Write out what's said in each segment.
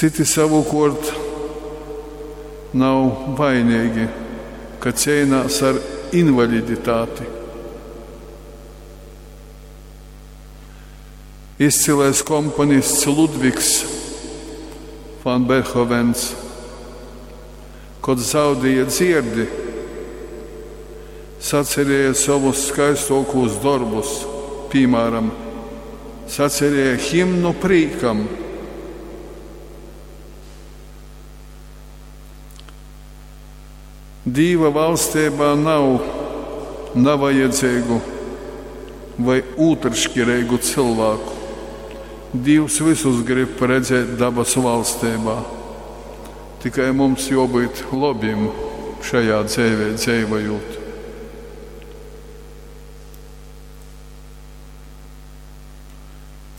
Cyti savukuort nav vaineigi, ka ceinās ar invaliditāti. Izcilais komponists Ludvigs van Beethovens, kod zaudēja dzierdi, sacerēja sovus skaistuokūs dorbus, pīmāram, sacerēja himnu prīkam. Dīva valsteibā nav navajadzeigu vai ūtrškireigu cylvāku. Dīvs vysus grib redzēt dabasu valsteibā. Tikai mums juobyut lobim šajā dzeivē dzeivojūt.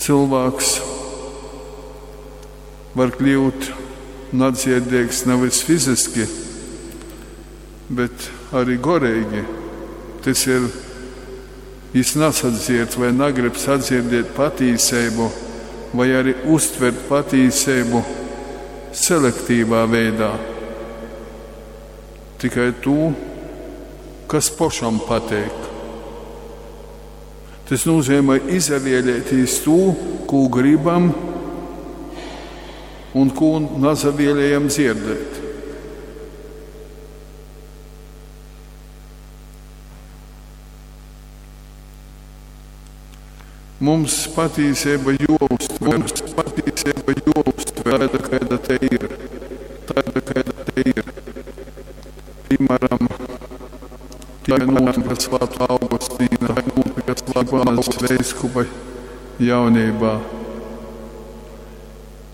Cylvāks var kļūt nadzierdeigs navys fiziski, bet ari goreigi. Tys ir, jis nasadzierd vai nagrib sadzirdēt patīseibu, vai ari uztvert patīseibu selektīvā veidā. Tikai tū, kas pošam pateik. Tys nūzeimoj izavielētīs tū, kū gribam un kū nasavielejam dzierdēt. Mums patīseiba juouztver, mums patīseiba juouztver taida, kaida tei ir, taida, kaida tei ir. Pīmāram, tai nūtyka Svātuo Augustīna, tai nūtyka Svātuo veiskupa jauneibā.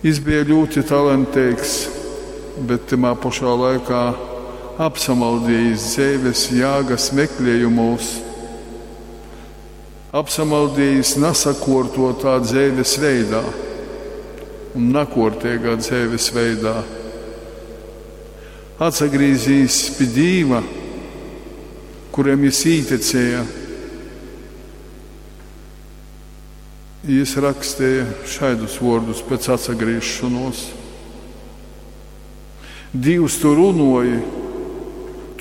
Jis beja ļūti talanteigs, bet tymā pošā laikā apsamaldiejis dzeives jāgas mekliejumūs, apsamaldiejis nasakuortuotā dzeives veidā un nakuorteigā dzeives veidā. Atsagrīzīs pi Dīva, kuram jis īticēja, jis raksteja šaidus vuordus pēc atsagrīzšonuos: Dīvs, tu runuoji,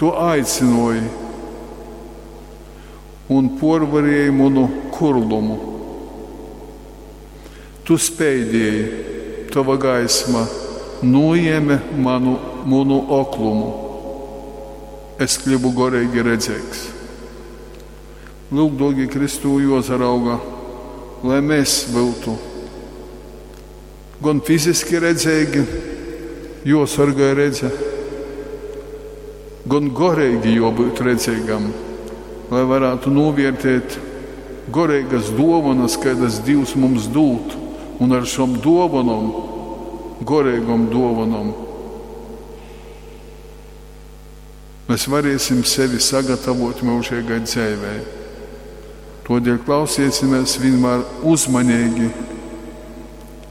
tu aicynuoji un puorvarieji munu kurlumu. Tu speidieji, tova gaisma nūjēme manu, munu oklumu. Es kļuvu goreigi redzeigs. Lyuk, duorgi Kristū, juosarauga, lai mēs byutu gon fiziski redzeigi, juosorgoj redze, gon goreigi juobyut redzeigam, lai varātu nūviertēt goreigas duovonas, kaidas Dīvs mums dūd, un ar šom duovonom, goreigom duovonom, mēs varēsim sevi sagatavot myužeigai dzeivei. Todēļ klausiesimies vienmēr uzmanīgi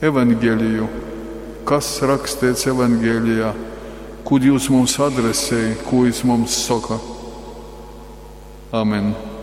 evaņgeliju, kas rakstīts evaņgelijā, ko Dievs mums adresē, ko Viņš mums saka. Amen.